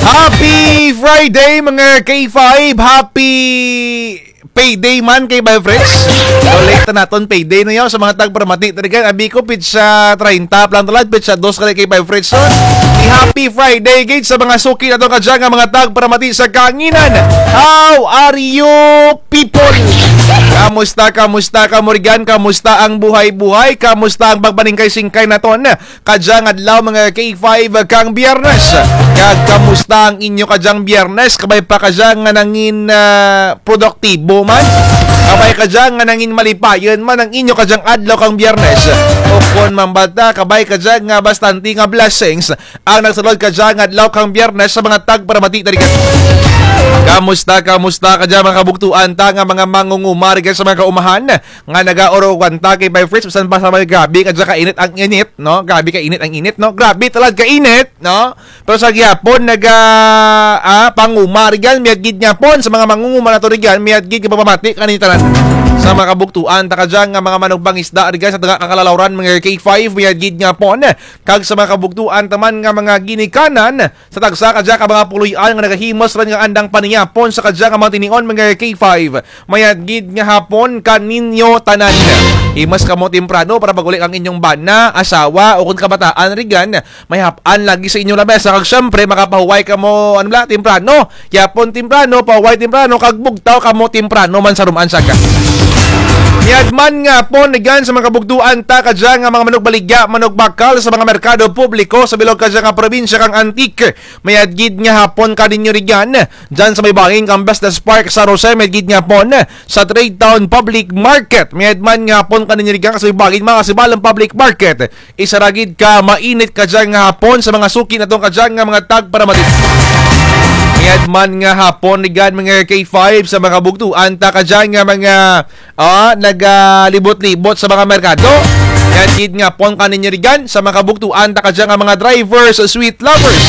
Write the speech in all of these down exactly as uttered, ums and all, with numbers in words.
Happy Friday, mga K five! Happy payday man kay Bay Fritz. So, late na naton payday na yaw sa mga tagparamati. Talaga, abi ko, pitsa treinta pa lang talad, pitsa dos ka kay Bay Fritz. So, happy Friday gid sa mga suki naton kadya nga mga tagparamati sa kahanginan. How are you, people? Kamusta, kamusta kamo rugyan? Kamusta ang buhay-buhay? Kamusta ang pagpaningkay-singkay naton kadya nga adlaw, mga K five, kang Biyernes? Kag kamusta ang inyo kadyang Biyernes? Kabay pa kadya nga nangin, ah, produktibo man? Kabay kadya nga nangin malipayon man ang inyo kadyang adlaw kang Biyernes? O kon man bala, kabay kadya nga bastante nga blessings ang nagsulod kadya nga adlaw kang Biyernes sa mga tagparamati ta rugyan? Kamusta, kamusta kadya mga kabugtuan ta nga mga mangunguma rugyan sa mga kaumahan nga nagaurugan ta kay Bay Fritz, bisan pa sa may grabe kadya kainit ang init, no? Grabe kainit ang init, no? Grabe talad kainit, no? Pero sa gihapon, naga, ah, panguma rugyan, mayad gid nga hapon sa mga mangunguma naton rugyan, mayad gid nga pagpamati kaninyo tanan. Sa mga kabugtuan ta kadya nga mga manugpangisda rugyan sa daga kang kalalawran, mga K five, mayad gid nga hapon. Kag sa mga kabugtuan ta man nga mga ginikanan sa tagsa kadya ka mga puloy-an nga nagahimos run nga andang panihapon sa kadya nga mga tinion, mga K five, mayad gid nga hapon kaninyo tanan. Himos kamo temprano para pag-uli kang inyong bana, asawa, o kon kabataan rugyan, may hap-an lagi sa inyong lamesa. Kag syempre, makapahuway kamo, ano bala, temprano. Gihapon temprano, pahuway temprano, kag bugtaw kamo temprano man sa rum-an saka. Mayad man nga hapon rugyan sa mga kabugtuan ta kadya nga mga manugbaligya, manugbakal sa mga merkado publiko sa bilog kadya nga probinsya kang Antique. Mayad gid nga hapon kaninyo rugyan. Dyan sa may bahin kang Business Park San Jose, mayad gid nga hapon. Sa Trade Town Public Market, mayad man nga hapon kaninyo rugyan, sa may bahin mga Sibalom Public Market. Isara gid ka mainit kadya nga hapon sa mga suki naton kadya nga mga tagparamati. Mayad man nga hapon rugyan, mga K five, sa mga kabugtuan ta kadya nga mga, ah, nagalibot-libot sa mga merkado. Mayad gid nga hapon kaninyo rugyan sa mga kabugtuan ta kadya nga mga drivers, sweet lovers.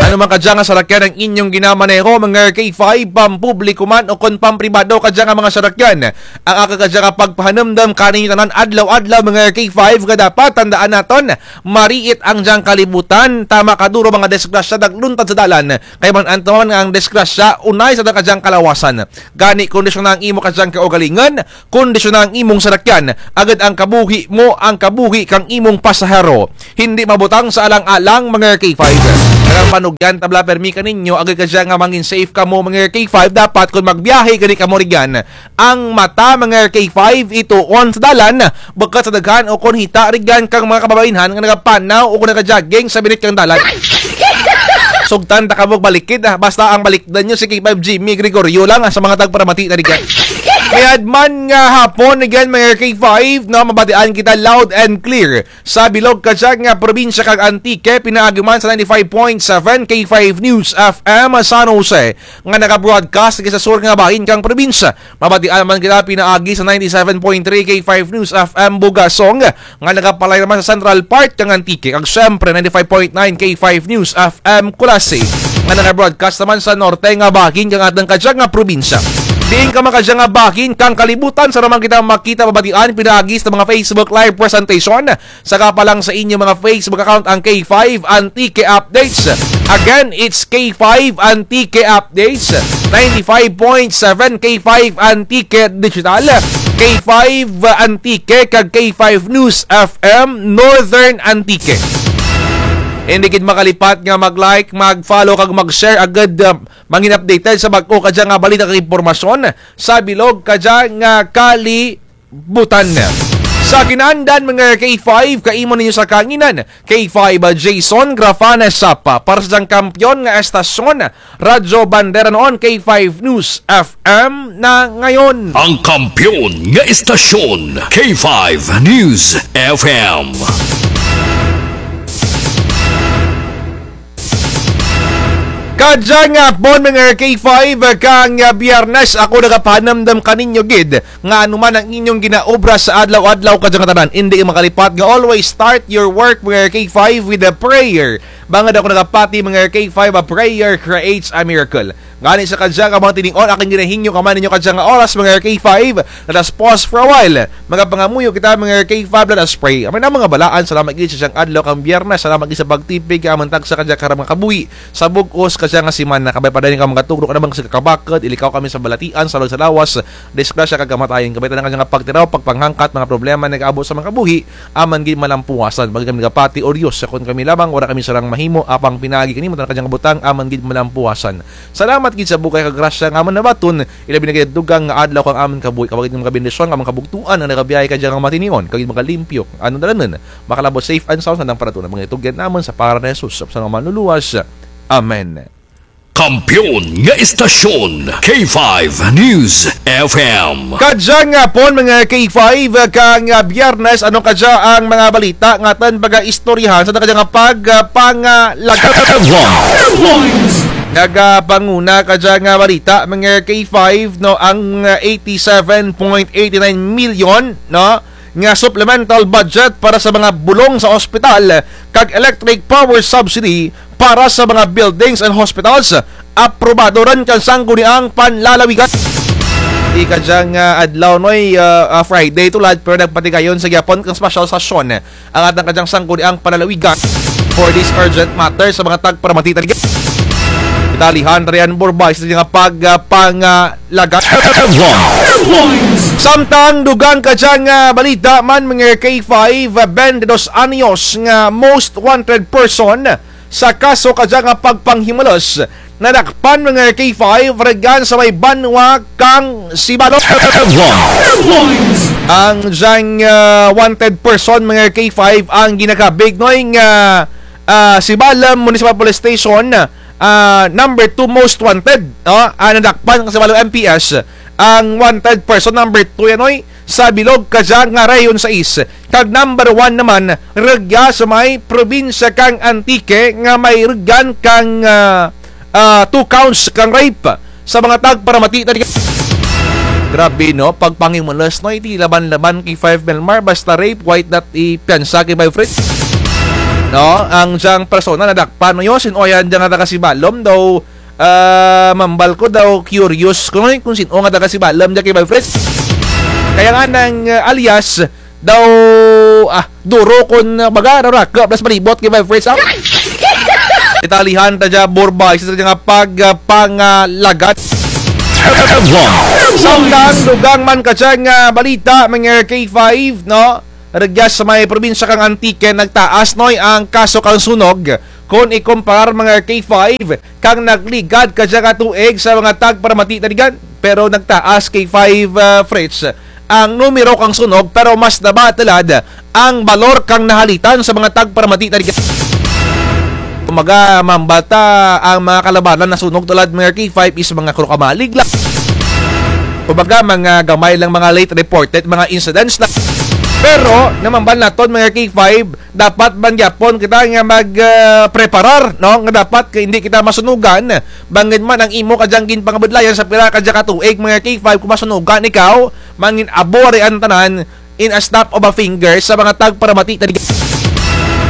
Ano man kadya nga sarakyan ang inyong ginamaneho, mga K five, pampubliko man o kon pampribado kadya nga mga sarakyan, ang akun kadya nga pagpahanumdum kaninyo tanan adlaw-adlaw, mga K five, nga dapat tandaan naton, mariit ang dyang kalibutan, tama kaduro mga disgrasya nagluntad sa dalan, kay man-an ta man nga ang disgrasya unay sa atun kadyang kalawasan. Gani, kondisyona ang imo kadyang kaugalingon, kondisyona ang imong sarakyan, agud ang kabuhi mo, ang kabuhi kang imong pasahero, hindi mabutang sa alang-alang, mga K five. Kag ang panugyan ta bala pirmi kaninyo, agud kadya nga mangin safe kamo, mga K five, dapat kon magbiyahe gani kamo rugyan, ang mata, mga K five, ituon sa dalan, bukut sa daghan o kon hita rugyan kang mga kababainhan nga nagapanaw o kon nagajogging sa binit kang dalan. Sugtan ta kamo balikid, ah, basta ang balikdan nyo si K five Jimmy Gregorio lang, ah, sa mga tagparamati ta rugyan. Mayad man nga hapon rugyan, mga K five, no, mabatian kita loud and clear sa bilog kadya nga probinsya kang Antique, pinaagi man sa ninety-five point seven K five News F M San Jose, nga naga-broadcast sa sur nga bahin kang probinsya. Mabatian man kita pinaagi sa ninety-seven point three K five News F M Bugasong, nga nagapalay naman sa Central Park kang Antique, kag syempre ninety-five point nine K five News F M Culasi, nga naga-broadcast naman sa norte nga bahin kang atun kadya nga probinsya. Diin ka man kadya nga bahin kang kalibutan, sara man kita makita, mabatian pinaagi sa mga Facebook Live presentation. Saka pa lang sa inyo mga Facebook account ang K five Antique Updates. Again, it's K five Antique Updates, ninety-five point seven K five Antique Digital, K five Antique, kag K five News F M Northern Antique. Hindi gid makalipat nga mag-like, mag-follow, kag mag-share agud, ah, mangin updated sa bag-o kadya nga balita kag impormasyon sa bilog kadya nga kali- butan. Sa kinaandan, mga K five, kaimo ninyo sa kahanginan, K five Jason Grafana Sapa, para sa dyang kampiyon nga estasyon, Radyo Bandera noon, K five News F M na ngayon. Ang kampiyon nga estasyon, K five News F M. Kadya nga hapon, mga K five, kang Biyernes, ako nagapahanumdum kaninyo gid nga ano man ang inyong ginaobra sa adlaw-adlaw, kadya nga tanan, indi makalipat nga always start your work, mga K five, with a prayer. Bangud ako nagapati, mga K five, a prayer creates a miracle. Gani sa kadya nga mga tinion, akun ginahingyo kamo ninyo kadya nga oras, mga K five. Let us pause for a while. Magapangamuyo kita, mga K five, let us pray. Amen. Ang mga balaan, salamat gid sa dyang adlaw kang Biyernes, salamat gid sa pagtipig, amun tagsa kadya karong mga kabuhi. Sa bug-os kadya nga semana, kabay pa dayon kamo magatugro, kamo mga kabakud, ilikaw kami sa balatian, sa lawag sa lawas, disgrasya kag kamatayon, kabay tanan kadya nga pagtiraw, pagpanghangkat, mga problema nagaabot sa mga kabuhi, amun gid malampuasan. Bangud kami nagapati, O Diyos, sa kun kami lamang, wara kami sarang mahimo, apang pinaagi kanimo tanan kadya nga butang, amun gid malampuasan. Salamat gid sa bug-os kag grasya nga amun nabaton, ilabi na gid dugang nga adlaw kang amun kabuhi, kabay gid nga mga bendisyon, nga mga kabugtuan, nga nagabiyahe kadya nga mga tinion, kag gid mga limpyo, ano dalanan, makalabot safe and sound sa nang paratuna, mga itugyan namun sa pangaran ni Jesus, sa mga manluluwas. Amen. Kampiyon nga istasyon, K five News F M. Kadya nga hapon, mga K five, kang, ah, Biyernes, ano kadya ang mga balita nga atun pagaistoryahan sa kadya nga pag, ah, pangalaga? Headlines. Nagapanguna kadya nga balita, mga K five, no, ang, ah, eighty-seven point eighty-nine million, no, nga supplemental budget para sa mga bulong sa ospital kag electric power subsidy para sa mga buildings and hospitals, aprobado run kang Sangguniang Panlalawigan. Di kadyang, ah, adlaw, Noy, ah, ah, Friday tulad, pero nagpatigayon sa gihapon kang special session ang atun kadyang Sangguniang Panlalawigan for this urgent matter sa mga tagparamati taligan. Italihan tarian burbay sa nga pag, ah, pang, ah, lagat. Samtang dugang kadyang, ah, balita man, mga K five, ah, twenty-dos anyos nga most wanted person sa kaso kadyang, ah, pagpanghimulos nadakpan, mga K five, rugyan sa may banwa kang Sibalom. Ang dyang, ah, wanted person, mga K five, ang ginakabig, Noy, nga, ah, Sibalom Municipal Police Station, ah, number two most wanted, no? Ah, nadakpan kang Sibalom M P S, ang wanted person number two yan, Noy, sa bilog kadya nga Rehiyon sais. Kag number one naman, rugya sa may probinsya kang Antique nga may rugyan kang, ah, ah, two counts kang rape sa mga tagparamati taligan. Grabe, no? Pagpanghimulos, no? Iti laban-laban kay five Melmar, basta rape, wait that ipiyansa kay five Fritz. No? Ang dyang persona nadakpan, no? Yo, sin-o yan dyang taga Sibalom daw, ah, mambal ko daw, curious ko, no? Kung sin-o nga taga Sibalom dya kay five Fritz. Kaya nga nang, ah, alias, daw, ah, duro kun, ah, baga, raraka, plus palibot kay five Fritz, ah. Italihan ta dya, burbay, sa nga pag, ah, pangalagat. Samtang dugang man kadyang, ah, balita, mga K five, no? Rugya sa may probinsya kang Antique, nagtaas, Noy, ang kaso kang sunog, kun ikumparar, mga K five, kang nagligad kadya nga tuig sa mga tagparamati taligan. Pero nagtaas, K five, ah, Fritz, ang numero kang sunog, pero mas naba tulad ang balor kang nahalitan sa mga tagparamati taligan. Kumbaga, mambal ta ang mga kalabanan nasunog tulad, mga K five, is mga krukamalig lang. Kumbaga, mga gamay lang, mga late reported, mga incidents lang. Pero, namambal naton, mga K five, dapat man gyapon kita nga mag, ah, preparar, no? Nga dapat ka indi kita masunugan. Bangud man ang imo kadyang ginpangabudlayan sa pira kadya ka tuig, mga K five, kun masunugan ikaw, mangin-abo ari ang tanan in a snap of a finger sa mga tagparamati taligan.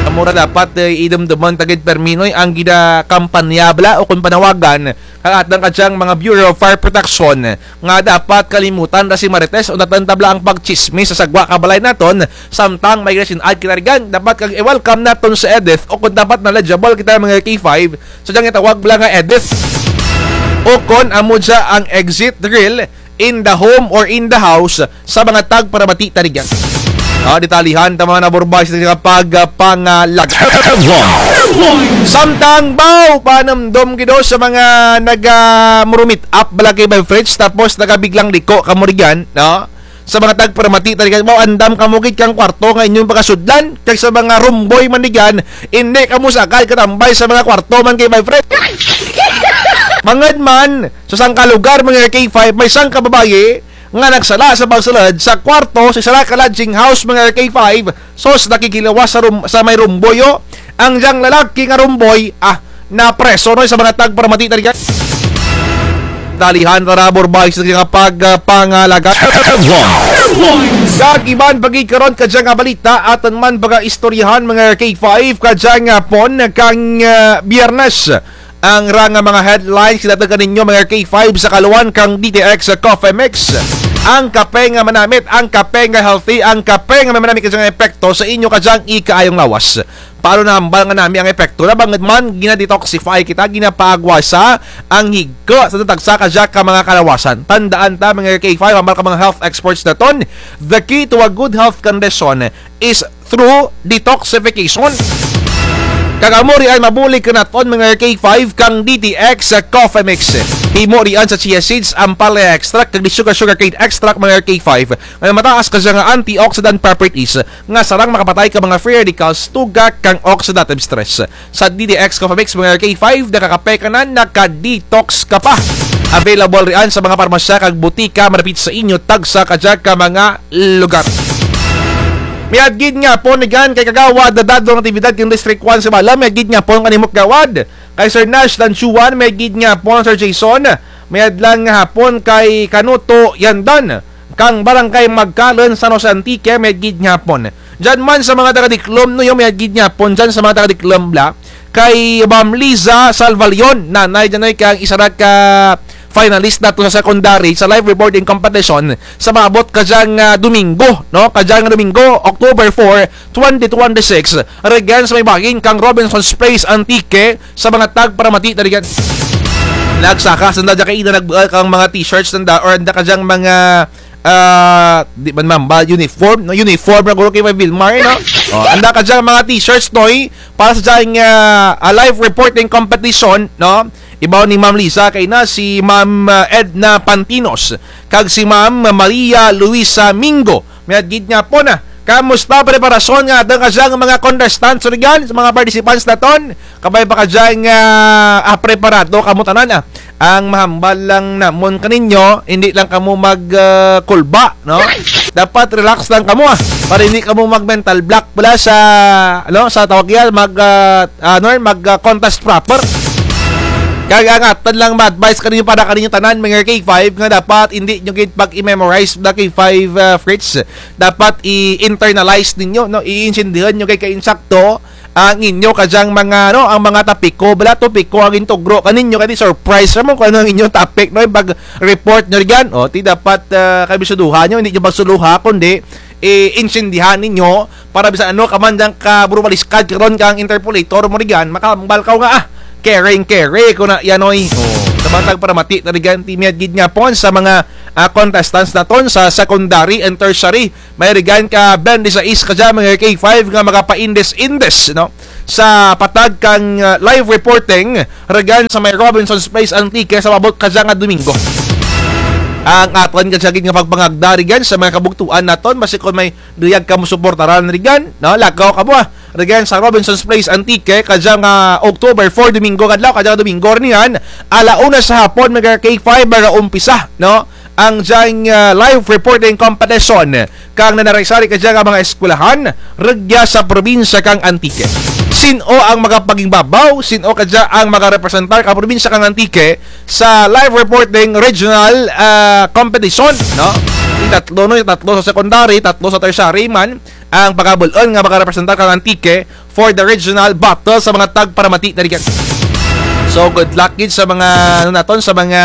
Amo ra dapat, eh, idumduman ta gid permi, Noy, ang ginakampanya bala o kun panawagan kang atun kadyang mga Bureau of Fire Protection nga dapat kalimutan ra si Marites o natun tabla ang pagtsismis sa sagwa ka balay naton, samtang may resin-ad kita rugyan, dapat kag i-welcome naton si Edith, o kun dapat knowledgeable kita, mga K five, sa dyang itawag bala nga Edith. O kun amo dya ang exit drill in the home or in the house sa mga tagparamati taligan. Ah, ditalihan ta man, burbay, sa nga pag, ah, pangalagat. Samtang baw panumdom gid sa mga naga, ah, murumit up bala kay five Fritz, tapos nagabiglang liko kamo rugyan, no? Sa mga tagparamati taligan, baw andam kamo gid kang kwarto nga inyong pagasudlan, kag sa mga rumboy man rugyan, indi kamo sagad katambay sa mga kwarto man kay five Fritz. Bangud man, sa sangka lugar, mga K five, may sangka babayi nga nagsala sa pagsulud sa kwarto sa sara ka lodging house, mga K five, sus, nakighilawas sa rum-, sa may rumboy, o. Ang dyang lalaki nga rumboy, ah, napreso, Noy, sa mga tagparamati taligan. Dalihan ta ra, burbay, sa nga pag, ah, pangalagat. Kag iban pa gid karon kadya nga balita, atun man pagaistoryahan mga K five kadya nga hapon kang, ah, Biyernes. Ang ra nga mga headlines, kinatag kaninyo mga K five sa kaluan kang D T X Coffee Mix. Ang kape nga manamit, ang kape nga healthy, ang kape nga may manamit kadya nga epekto sa inyo kadyang ikaayong lawas. Paano nahambal nga nami ang epekto? Nabangud man, gina-detoxify kita, ginapaagwasa ang higko sa tagsa kadya ka mga kalawasan. Tandaan ta, mga K five, hambal ka mga health experts naton, the key to a good health condition is through detoxification. Kag amo riyan mabulig kanaton, mga K five, kang D T X Coffee Mix. Himo riyan sa chia seeds, ampalaya extract, kag di sugar, sugarcane extract, mga K five, nga mataas kadya nga antioxidant properties nga sarang makapatay ka mga free radicals tugak kang oxidative stress. Sa D T X Coffee Mix, mga K five, nakakape ka na, naka-detox ka pa. Available riyan sa mga parmasya kag butika madapit sa inyo, tagsa kadya ka mga lugar. Mayad gid nga hapon rigan kay Kagawad Dadong Natividad kang District one sa Sibalom, mayad gid nga hapon kanimo Kagawad. Kay Sir Nash Lanchuan, mayad gid nga hapon Sir Jason. Mayad lang nga hapon kay Kanuto Yandan kang Barangay Magkalon, San Jose, Antique, mayad gid nga hapon. Dyan man sa mga taga-Diklom, no, yo, mayad gid nga hapon dyan sa mga taga-Diklom bala. Kay Ma'am Liza Salvalion, nanay dyan ay kang isara ka finalist naton sa secondary sa live reporting competition sa maabot kadyang, ah, Domingo, no? Kadyang Domingo, October four, twenty twenty-six, rigan sa may bahin kang Robinson's Place, Antique, sa mga tagparamati na rigan. Nagsaka sanda dya kay ina nagbual kang mga t-shirts nanda or anda kadyang mga, ah, di man mamba, uniform, no? Uniform na guro kay Vilmar, no? Oh, anda kadyang mga t-shirts, noy, para sa dyang, ah, ah, live reporting competition, no? Ibaw ni Ma'am Lisa, kay na si Ma'am, ah, Edna Pantinos, kag si Ma'am Maria Luisa Mingo. Mayad gid nga hapon, ah. Kamusta preparasyon nga atun kadyang mga contestants, rigan, sa mga participants naton? Kabay pa kadyang, ah, ah, preparado kamo tanan, ah. Ang mahambal lang namon kaninyo, hindi lang kamo mag, ah, kulba, no? Dapat relax lang kamo, ah. Para hindi kamo mag-mental block bala sa, ano, sa tawag yan, mag, ah, ano, mag, ah, contest proper. Kag ang atun lang ma-advise kaninyo para kaninyo tanan, mga K five, nga dapat hindi nyo gid pag-i-memorize the K five, ah, Fritz. Dapat i-internalize ninyo, no? Iintindihan nyo kay kainsakto ang inyo kadyang mga, no, ang mga topiko, bala topiko ang gintugro kaninyo, kay di surprise ra mo kung ano ang inyong topic, no? Pag-report nyo rigan, o, ti dapat, ah, kabisyoduhan nyo, hindi nyo pagsuluha, kundi iintindihan ninyo para bisan ano ka man dyang kaburubaliskad karon kang interpolator mo rigan, makahambal kaw nga, ah, caring, caring, kuna yan, oy. O, sa mga tagparamati na rigan, ti mayad gid nga hapon sa mga, ah, contestants naton sa secondary and tertiary. May rigan ka twenty-six kadya, mga K five, nga makapaindes-indes, no? Sa patag kang, ah, live reporting, rigan sa may Robinson's Place, Antique, sa maabot kadya nga Domingo. Ang atun kadya gid nga pagpangagda rigan sa mga kabugtuan naton, basi kon may duyag kamo suportaran rigan, no? Lakaw kamo, ah. Rigan sa Robinson's Place, Antique, kadya nga October four, Domingo nga adlaw, kadya nga Domingo run yan, ala una sa hapon, mga K five, mag-umpisa, no? Ang dyang, ah, live reporting competition kang nanari-sari kadya nga mga eskwelahan rugya sa probinsya kang Antique. Sin-o ang makapagingbabaw, sin-o kadya ang makarepresentar kang probinsya kang Antique sa live reporting regional, ah, competition, no? Ti tatlo, no? Tatlo sa secondary, tatlo sa tertiary man ang pagabul-on nga makarepresentar kang Antique for the regional battle sa mga tagparamati na rigan. So, good luck gid sa mga, ano naton, sa mga,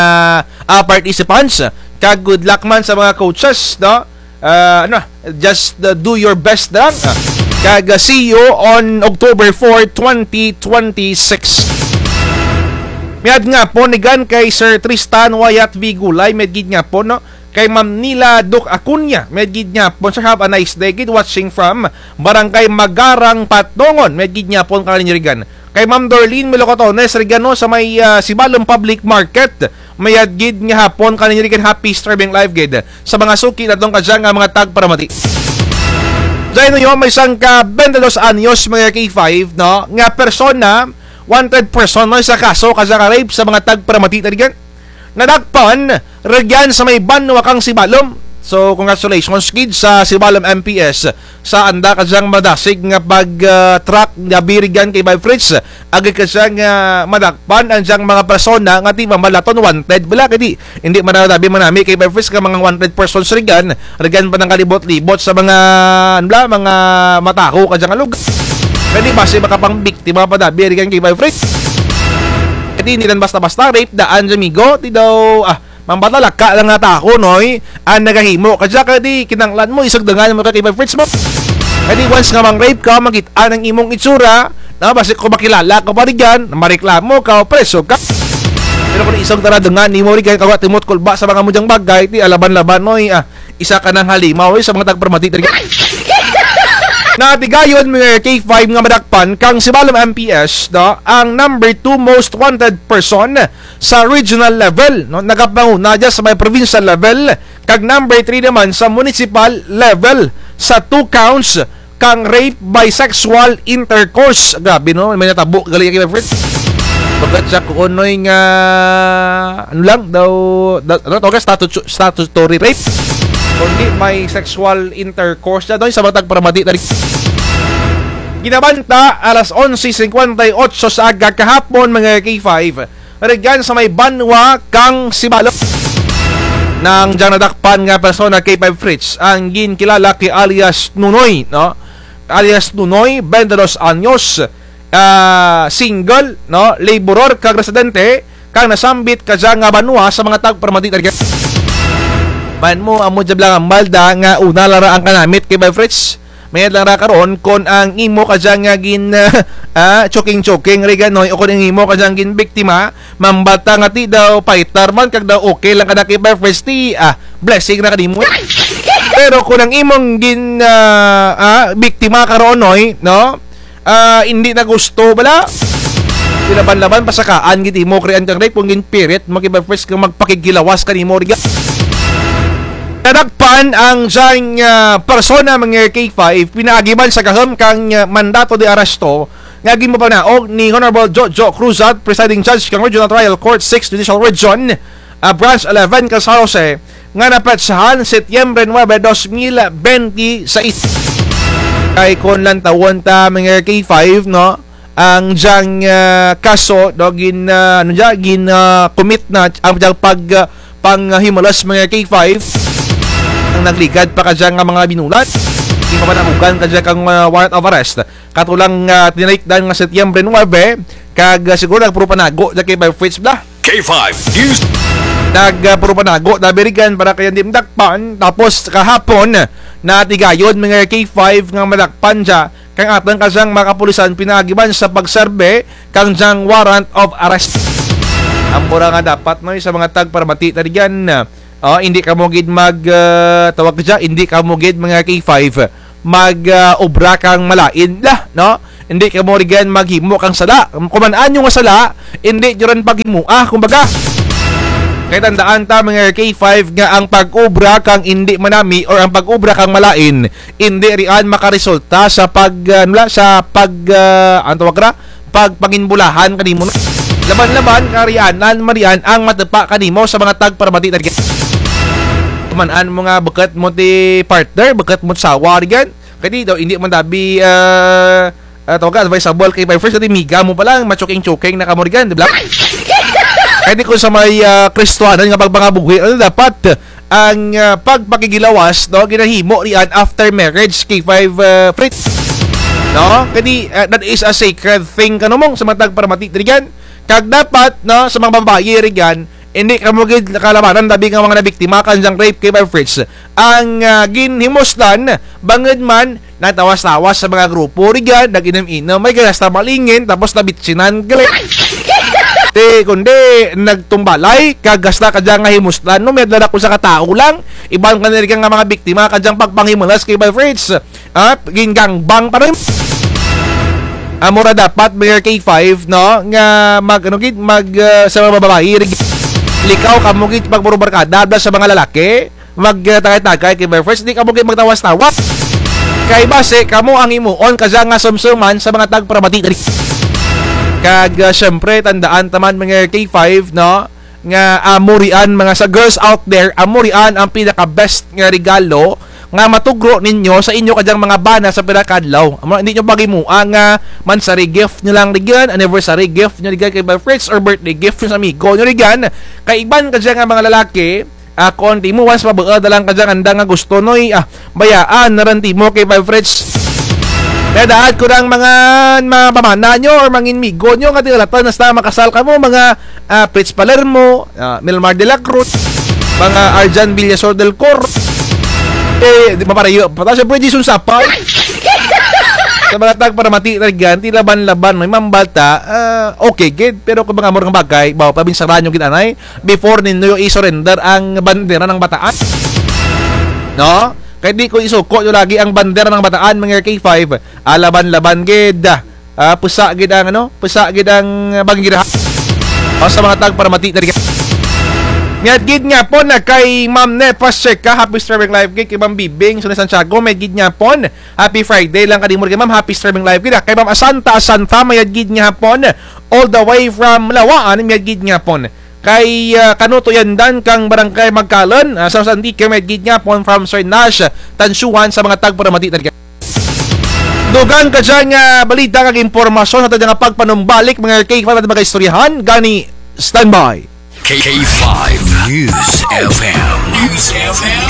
ah, participants. Kag good luck man sa mga coaches, no? Ah, ano, just, uh, do your best na lang. Ah, kag, uh, see you on October four, twenty twenty-six. Mayad nga hapon rigan kay Sir Tristan Wyatt V Gulay, mayad gid nga hapon, no? Kay Ma'am Nila Duc Acuña, mayad gid nga hapon, sir, have a nice day gid, watching from Barangay Magarang, Patnongon, mayad gid nga hapon kaninyo rigan. Kay Ma'am Dorlene Melocotones rigan, no, sa may, ah, Sibalom Public Market, mayad gid nga hapon kaninyo rigan, happy streaming live gid sa mga suki naton kadya nga mga tagparamati. Dyan, no, may sangka twenty-dos anyos, mga K five, no, nga persona, wanted person, no, sa kaso kadya nga rape sa mga tagparamati na rigan. Nadakpan rugyan sa may banwa kang Sibalom. So, congratulations gid sa Sibalom M P S sa anda ka dyang madasig nga pag, ah, track nga birigan kay Bay Fritz. Agud ka dyang, ah, madakpan ang dyang mga persona nga ti mabalaton wanted bala kay di, indi man dabi manami kay Bay Fritz ka mga wanted persons rigan, rigan pa nang kalibot-libot sa mga, ano bala, mga mataho ka dyang lugar. Kay di basi makapangbiktima pa dabi rigan kay Bay Fritz. Kay di, indi lang basta-basta rape daan dya, amigo, ti daw, ah, mambatalaka lang nga tawo, noy, ang nagahimo ka dya, kay di kinanglan mo, isugdangan mo ka kay Bay Fritz mo. Kay di once nga mang-rape ka, makit-an ang imong itsura, no, basi kon makilala ka pa rigan, mareklamo ka, o preso ka. Pero kon isugdangan nimo rigan, kagwa ti mo kulba sa mga amo dyang bagay, ti alaban-laban, noy, ah, isa ka nang halimaw, eh, sa mga tagparamati rigan. Natigayon, mga K five nga madakpan, kang Sibalom M P S, no, ang number two most wanted person sa regional level, no? Nagapanguna dya sa may provincial level, kag number three naman sa municipal level sa two counts kang rape by sexual intercourse. Grabe, no? May natabo gali kay Fritz. Bukut sa kuonoy nga, ano lang daw, da, ano tawag, statu-, statutory rape. Kundi may sexual intercourse na doon sa mga tagparamati na rin. Ginabanta alas onse singkwenta y otso sa aga kahapon, mga K five. Rigan sa may banwa kang Sibalom. Nang dyang nadakpan nga persona kay K five Fritz, ang ginkilala kay alias Nunoy, no? Alias Nunoy, twenty dos anyos, ah, single, no? Laborer kag residente kang nasambit ka dya nga banwa sa mga tagparamati na rigan. Man mo, amo dya bala nga malda nga una lang ra ang kanamit kay K five Fritz. Mayad lang ra karon kon ang imo ka dya nga gin, ah, choking-choking rigan, noy, o kon ang imo ka dyang ginbiktima, mambata nga ti daw fighter man, kag daw okay lang ka na kay K five Fritz, ti, ah, blessing na kanimo. Pero kon ang imong gin, ah, ah, biktima karon, noy, no? Ah, indi na gusto bala. Ilaban-laban, pasakaan gid imo, krian kang rape, kon ginpirit mo kay K five Fritz nga magpakighilawas kanimo rigan. Nadakpan ang dyang, ah, persona, mga K five, pinaagi man sa gahum kang, ah, mandato de arresto nga ginpapanaog ni Honorable Jojo Cruzat, Presiding Judge kang Regional Trial Court six Judicial Region, ah, Branch eleven kang San Jose, nga napetsahan Setyembre nuebe, dos mil bente sais. Kay kon lantawon ta, mga K five, no? Ang dyang, ah, kaso, no, gin, ah, ano dya, gin, ah, commit na ang dyang pag, ah, panghimulas, mga K five. Ang nagligad pa ka dya nga mga binulan, ginpapanaogan ka dya kang, ah, warrant of arrest. Kato lang, ah, tinalikdan nga Setyembre nuebe, kag, ah, siguro nagpuro panago dya kay Bay Fritz bala. K five News. Nag, ah, puro panago dabi rigan para kay indi madakpan. Tapos kahapon, natigayon, mga K five, nga madakpan dya kang atun ka dyang mga kapulisan pinaagi man sa pagserbi kang dyang warrant of arrest. Amo ra nga dapat, noy, sa mga tagparamati na rigan, ah, indi kamo gid mag, ah, tawag ka dya, indi kamo gid, mga K five, mag, ah, obra kang malain bala, no? Indi kamo rigan maghimo kang sala. Kon man-an nyo nga sala, indi nyo ran paghimoa, kumbaga. Kay tandaan ta, mga K five, nga ang pag-obra kang indi manami or ang pag-obra kang malain, indi rian makaresulta sa pag, ah, ano bala, sa pag, ah, ano tawag ra? Pagpanginbulahan kanimo, no? Laban-laban, karianan man rian ang matupa kanimo sa mga tagparamati na rigan. Man-an mo nga bukut mo ti partner, bukut mo ti asawa rigan. Kay di daw, indi man dabi, ah, ah, tawag ka, advisable kay Bay Fritz, kay di miga mo pa lang, machoking-choking na kamo rigan, di bala? Kay di kon sa may, ah, Kristohanon nga pagpangabuhi, ano, dapat ang, ah, pagpakighilawas, no, ginahimo rian after marriage, K five, ah, Fritz. No? Kay di, ah, that is a sacred thing, kano mong sa mga tagparamati rigan. Kag dapat, no, sa mga babayi rigan, indi kamo gid kalabanan dabi nga mga nabiktima kang dyang rape kay Bay Fritz. Ang, ah, ginhimuslan, bangud man, nagtawas-tawas sa mga grupo rigan, nag-inom-inom, may ganas ta malingin, tapos nabitsinan, gali. Ti, kundi, nagtumbalay, kag hasta ka dya nga himuslan, no, may dala ko sa katao lang, iban ka na rigan nga mga biktima, ka dyang pagpanghimulas kay Bay Fritz. Ah, gingangbang pa rin. Amo ra dapat, mga K five, no, nga mag, ano gid, mag, ah, sa mga babayi, rig-, likaw kamo gid, pagburubarkada, bala sa mga lalaki, mag, ah, tagay-tagay kay Bay Fritz, di kamo gid magtawas-tawas. Kay basi, kamo ang himuon, ka dya nga sumsuman sa mga tagparamati, rig-, kag, ah, syempre, tandaan ta man, mga K five, no, nga amo rian, mga sa girls out there, amo rian ang pinaka-best nga regalo nga matugro ninyo sa inyo kadyang mga bana sa pira ka adlaw. Amo, hindi nyo paghimoa nga monthsary gift nyo lang rugyan, anniversary gift nyo rugyan kay Five Fritz, or birthday gift nyo sa amigo nyo rugyan. Kay iban kadya nga mga lalaki, ah, kon ti mo once mabuul da lang kadya nga anda nga gusto, noy, ah, bayaan na ran ti mo kay Five Fritz. Kay daad ko rang mga, mga pamana nyo or mga inmigo nyo nga ti alatan hasta makasal kamo, mga, ah, Fritz Palermo, ah, Milmar de la Cruz, mga Arjan Villasor del Cor. Eh, di maparayo pa ta, syempre, Jason Sapal. Sa mga tagparamati na rugyan, ti laban-laban, may mambal ta, ah, okay gid, pero kon mga amo rang bagay, bawo pa binsaran nyo gid anay, before ninyo i-surrender ang bandera ng Bataan. No? Kay di ko isuko nyo lagi ang bandera ng Bataan, mga K five, ah, laban-laban gid. Ah, pusa gid ang, ano, pusa gid ang, ah, banggirahan. O, sa mga tagparamati na rugyan. Mayad gid nga hapon na kay Ma'am Nepa Seca, happy streaming live gid kay Ma'am Bibing, Sune Santiago, mayad gid nga hapon. Happy Friday lang kanimo rugyan, Ma'am, happy streaming live gid. Kay Ma'am Asanta, Asanta, mayad gid nga hapon. All the way from Laua-an, mayad gid nga hapon. Kay, ah, Kanuto Yandan kang Barangay Magkalan, ah, sa San Antique, mayad gid nga hapon from Sir Nash Tansuan sa mga tagparamati na rugyan. Dugang kadya nga balita kag impormasyon sa tadya nga pagpanumbalik, mga K five, aton mga istoryahan, gani standby. K five News F M. News F M.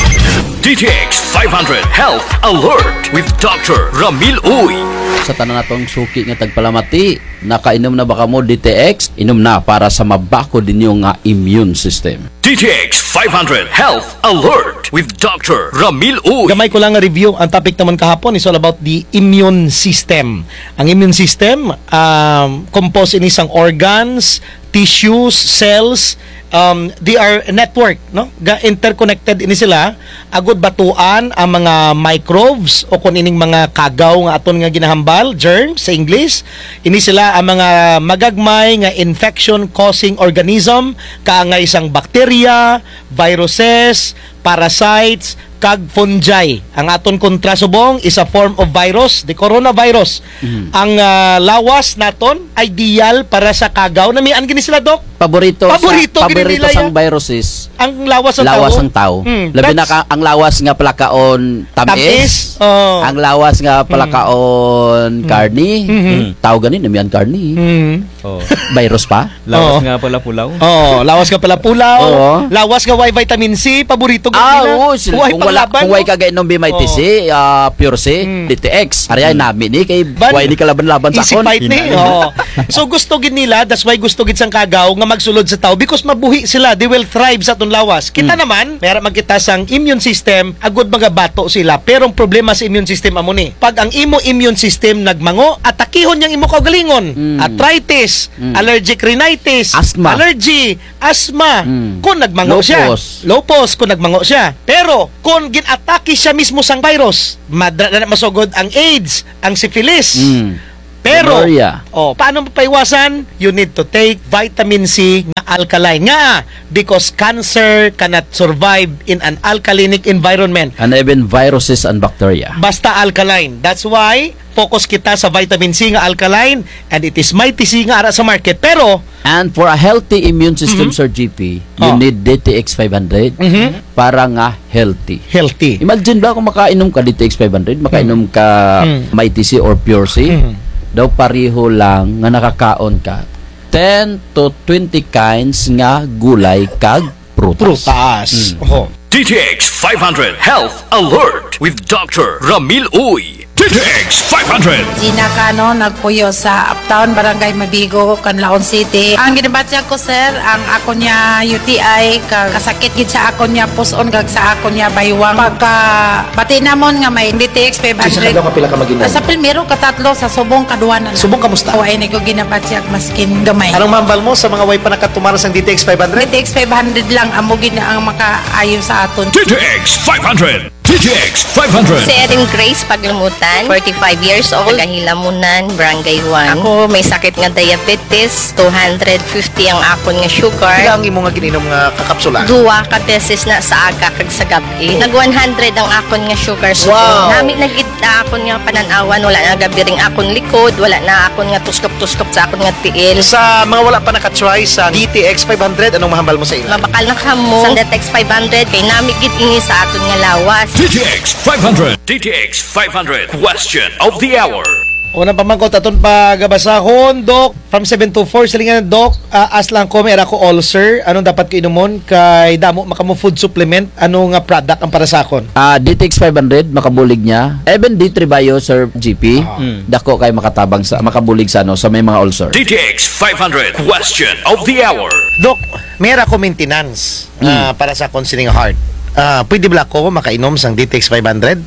D T X five hundred Health Alert with Doctor Ramil Uy. Sa tanan natong suki nga tagpalamati, nakainom na ba kamo D T X? Inom na para sa mabakod ninyo nga immune system. D T X five hundred Health Alert with Doctor Ramil Uy. Gamay ko lang nga review. Ang topic namun kahapon is all about the immune system. Ang immune system, um, composed ini sang organs, tissues, cells, um, they are network, no? Ga-, interconnected ini sila. Agud batuan ang mga microbes o kon ining mga kagaw nga aton nga ginahambal, germs sa English. Ini sila ang mga magagmay nga infection-causing organism, kaangay sang bacteria, viruses, parasites, kag fungi. Ang aton kontra subong is a form of virus, the coronavirus. Mhm. Ang, ah, lawas naton ideal para sa kagaw. Namian gid ni sila, Doc. Paborito sa, paborito gid nila sang viruses. Ang lawas sang tawo. Lawas sang tawo. Mm, labi na ka, ang lawas nga palakaon tamis. Tamis, oo. Ang lawas nga palakaon karne. Mm. Tawo gani, namian karne. Mm. Oo. Virus pa? Lawas nga palapulaw. Oo, lawas nga palapulaw. Oo. Lawas nga way vitamin C, paborito gid nila. Ah, oo, sila. Kung wala, kung way ka gainom B M I T C, ah, Pure C, D T X. Ari ay nami ni, kay way ni kalaban-laban sa akon. Easy fight ni. Oo. So, gusto gid nila, that's why gusto gid sang kagaw nga magsulod sa tawo because mabuhi sila, they will thrive sa aton lawas. Kita naman, may ara man kita sang immune system, agud magabato sila. Pero ang problema sa immune system amo ni, pag ang imo immune system nagmango, atakihon niya ang imo kaugalingon. Mm. Arthritis, allergic rhinitis, asthma, allergy, asthma. Mm. Kon nagmango siya. Lupus. Lupus, kon nagmango siya. Pero, kon gin-atake siya mismo sang virus, madra na masugod ang AIDS, ang syphilis. Mm. Pero, gonorrhea. Oh, paano mapaiwasan? You need to take vitamin C nga alkaline. Nga, because cancer cannot survive in an alkalinic environment. And even viruses and bacteria. Basta alkaline. That's why, focus kita sa vitamin C nga alkaline, and it is Mighty C nga ara sa market. Pero, and for a healthy immune system, Sir G P, you need D T X five hundred para nga healthy. Healthy. Imagine ba kung makainom ka D T X five hundred, makainom ka Mighty C or Pure C, daw pareho lang nga nakakaon ka ten to twenty kinds nga gulay kag prutas. Prutas. Mm. Oho. D T X five hundred Health Alert with Doctor Ramil Uy. D T X five hundred. Gina Cano, nagpuyo sa Uptown, Barangay Mabigo, Canlaon City. Ang ginabatyag ko, sir, ang akon nga U T I, ka-, kasakit gid sa akon nga pus-on, kag sa akon nga baywang. Pagkabati namon nga may D T X five hundred. Sa kadlaw kapila ka mag-inom? Sa primero, katatlo, sa subong, kaduwa na. Subong, kamusta? Wa ni ko ginabatyag maskin gamay. Anong mahambal mo sa mga way pa nakatumar sang D T X five hundred? D T X five hundred lang, amo gid na ang makaayo sa aton. D T X five hundred. D T X five hundred. Si Erin Grace Paglumutan, forty-five years old, taga Hilamunan, Barangay one. Ako may sakit nga diabetes, two hundred fifty ang akon nga sugar. Pila ang imo nga gin-inom nga kakapsula? Duwa ka beses na sa aga kag sa gab-i. Nag one hundred ang akon nga sugar. Wow! Nami na gid na akon nga panan-awan, wala na gabiring akon likod, wala na akon nga tustok-tustok sa akon nga tiil. Sa mga wala pa naka-try sa D T X five hundred, anong mahambal mo sa ila? Mabakal na kamo sa D T X five hundred, kay nami gid ini sa aton nga lawas. D T X five hundred. D T X five hundred. Question of the hour. Unang pamangkot aton pagabasahon, Doc, from seven two four, silingan, Doc, ah, as lang ko, may ara ko ulcer, anong dapat ko inumon? Kay damo man kamo food supplement, ano nga product ang para sa akon? Ah, D T X five hundred, makabulig niya. Even D three Bio, Sir G P, ah, dako kay makatabang sa, makabulig sa, ano, sa may mga ulcer. D T X five hundred, question of the hour. Doc, may ara ko maintenance, ah, para sa akon sining heart. Ah, pwede bala ko makainom sang D T X five hundred?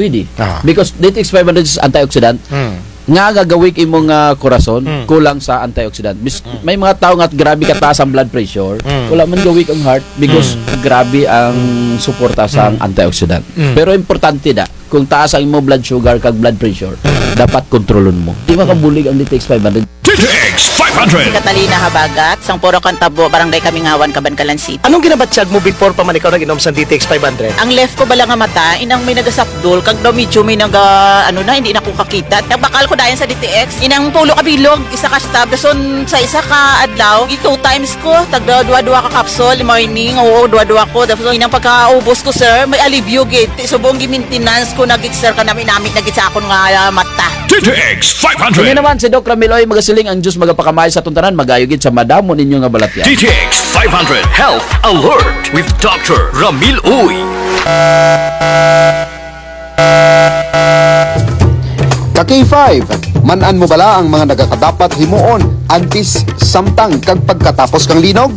Pwede. Ah. Because D T X five hundred is antioxidant. Hmm. Nga gagawik imong, ah, korason, hmm, kulang sa antioxidant. Bis-, hmm, may mga tao nga grabe kataas ang blood pressure, hmm, wala man gawik ang heart because, hmm, grabe ang suporta sa, hmm, antioxidant. Hmm. Pero importante da, kung taas ang imong blood sugar kag blood pressure, dapat kontrolon mo. Di makabulig ang D T X five hundred. D T X five hundred. Si Catalina Habagat, sang Purok Cantabo, Barangay Kamingawan, Kabankalan City. Anong ginabatyag mo before pa man ikaw nag-inom sang D T X five hundred? Ang left ko bala nga mata, inang may nagasapdol, kag daw medyo may naga, ano na, hindi na ko kakita. Nagbakal ko dayon sa D T X, inang tulo ka bilog, isa ka stop, dason sa isa ka adlaw, i-two times ko, tagda duwa-duwa ka capsule, morning, oo, duwa-duwa ko. Tapos inang pagkaubos ko, sir, may alibyo gid. Ti subong gi-maintenance ko na gid, sir, kanami-nami na gid sa akon nga, ah, mata. D T X five hundred. Inyo naman si Doc Ramil Uy, magasiling ang Diyos magapakamay sa aton tanan, mag-ayo gid sa madamo ninyo nga balatyan. D T X five hundred Health Alert with Doctor Ramil Uy. Ka K five, man-an mo bala ang mga nagakadapat himuon antes, samtang, kag pagkatapos kang linog?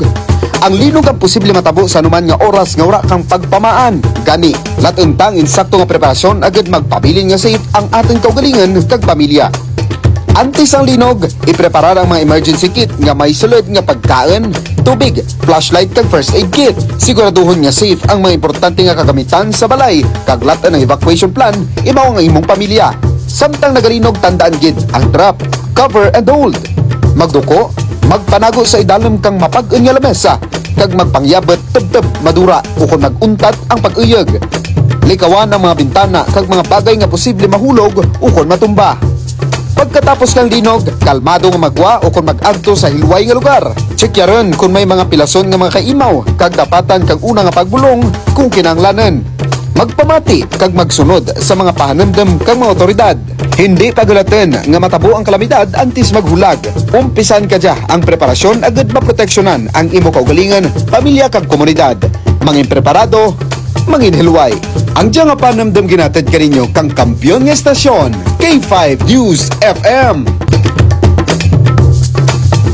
Ang linog ang posible matabo sa anuman nga oras nga wara kang pagpamaan. Gani, lat-en ta ang insakto nga preparasyon agud magpabilin nga safe ang atun kaugalingon kag pamilya. Antes ang linog, ipreparar ang mga emergency kit nga may sulud nga pagkaun, tubig, flashlight kag first aid kit. Siguraduhon nga safe ang mga importante nga kagamitan sa balay, kag lat-en ang evacuation plan, imaw ang imong pamilya. Samtang nagalinog, tandaan gid ang drop, cover and hold. Magduko, magpanago sa idalum kang mapag-un nga lamesa, kag magpangyabut tubtub madura ukon mag-untad ang pag-uyog. Likawan ang mga bintana kag mga bagay nga posible mahulog ukon matumba. Pagkatapos kang linog, kalmado nga maggwa ukon mag-agto sa hilway nga lugar. Tsikyaron kon may mga pilason nga mga kaimaw kag dapatan kang una nga pagbulong kon kinahanglanun. Magpamati kag magsunod sa mga pahanumdum kang mga awtoridad. Hindi paghulatun nga matabo ang kalamidad antes maghulag. Umpisan kadya ang preparasyon agud maproteksyonan ang imo kaugalingon, pamilya kag komunidad. Mangin preparado, mangin hilway. Ang dya nga panumdum ginahatid kaninyo kang kampiyon nga estasyon, K five News F M.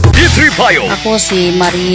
D three Bio. Ako si Marie